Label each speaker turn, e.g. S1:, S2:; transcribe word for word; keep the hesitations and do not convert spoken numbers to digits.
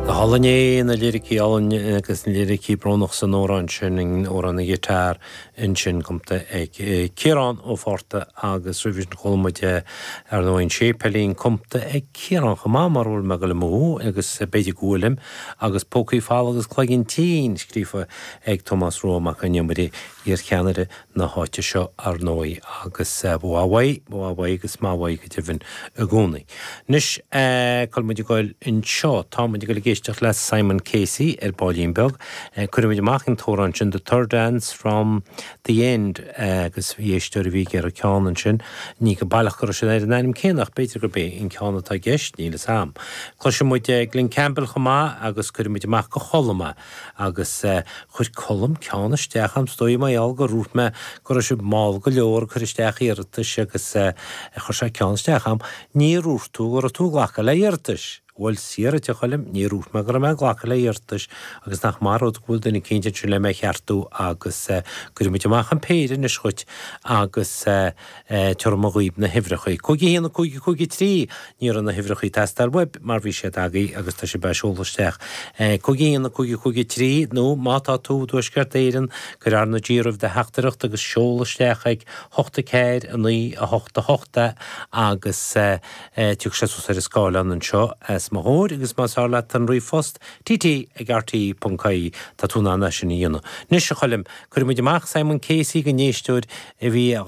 S1: Go hálainn é na liricí álainn agus na liricí brónach san amhrán sin an amhrán an ghiotár ansin cumtha ag Ciarán Ó Fátharta agus roimhe sin chuala muid ar ndóigh an séipéilín cumtha ag Ciarán chomh maith mar bhfuil mé go le mú agus b'fhéidir go bhfuilim agus Pócaí Folamh agus Cloigeann Tinn scríofa ag Tomás Rua Mac an Iomaire iarcheannaire na háite seo ar ndóigh agus bhuaigh bhuaigh agus maith go deimhin i gcónaí. Anois cá bhfuil muid ag goil anseo tá muid ag éisteacht le Simon Casey ar baillín beag, Cuirimid amach an t-amhrán sin the third dance from the end agus bhí éisteoir a bhí ar a ceann ansin, ní go baileach go sin ar an ainm céanna b'fhéidir gurb é an ceann atá i gceist níl a fhios agam. Cloisfidh muid Glen Campbell chomh maith agus cuirimid amach go Colm agus chuir Colm ceann isteach am stoi maiál go rút me go raibh sibh mall go leor chur isteach iarratais agus chuir sé ceann isteach am, ní dúirt tú go raibh tú ag glacadh le hiarratais. Bhuel siar a Choilm ní dúirt mé go raibh mé ag glacadh le hiarratais agus nach mar go bhfuil duine cinnte sin le mé cheartú agus cuirimid amach an péire anois chugat agus tabharfaidh mé dhaoibh na huimhreacha. Cúig a haon cúig cúig trí ní raibh na huimhreacha ag teastáil uaibh mar bhí siad agaibh agus tá sé be seoladh isteach. Cúig a haon cúig cúig trí nó má tá tú i dTuaisceart Éireann cuir R na G roimh do theachtaireacht agus seol isteach ag hocht a ceathair a naoi a hocht a hocht agus tiocfaidh sé suas ar an scáileán anseo os mo chomhair agus más fearr leat an ríomhphost TT ag RTÉ ponc ie tá tú in ann sin a dhéanamh. Anois a Choilm, cuirimid amach Simon Casey don éisteoir a bhí a